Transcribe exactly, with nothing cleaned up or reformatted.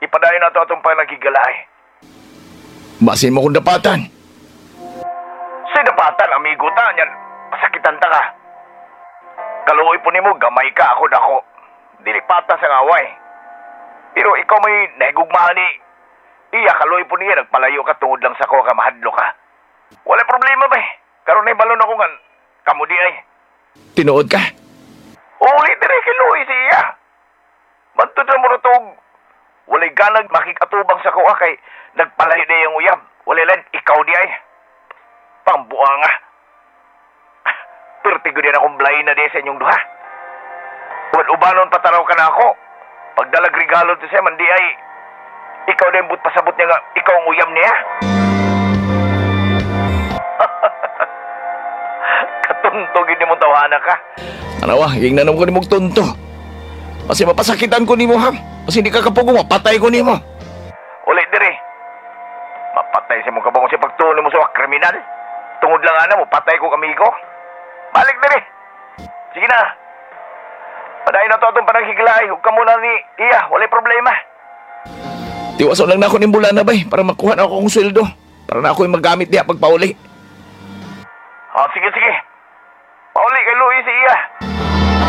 Ipadayon na to atong panaghigalay. Basin mo kong dapatan. Sa dapatan, amigo ta, yan, pasakitan ta ka. Kaluoy po nimo, gamay ka ako dako. Dili patas ang away. Pero ikaw may nahigugmahan ni iya, kaluoy po niya, nagpalayo ka tungod lang sa ko ka mahadlo ka. Wala problema ba eh. Karon ay balon ako nga, kamo di ay. Tinuod ka. Uli dire kay Luis si iya. Bantod na mo na tog. Walay ganag makikatubang sa kuha kay nagpalayo na yung uyab. Walay lang, ikaw di ay. Pambuha nga. Pertigo din akong blay na di sa inyong duha. Uban-ubanon pataraw ka na ako. Pagdalag regalo to siya, man di ay. Ikaw na yung but pasabot niya nga, ikaw ang uyam niya. Katuntugin ni mong tawanan ka. Tanawa, hingnan ko ni mong tunto. Kasi mapasakitan ko nimo ha. Kasi hindi ka kapugong, mapatay ko nimo. Uli dire. Mapatay sa mong kabangong sa pagtuon mo sa kriminal. Tungod lang ana mo, patay ko kamigo. Balik dire. Sige na. Padayon na to atong panaghiglay. Huwag ka muna ni Iya, walay problema. Tiwason lang na ako ning bulana bay para makuha na ako kong sweldo. Para na ako'y magamit diha pagpauli. Oh, sige, sige. Pauli kay Luis si Iya.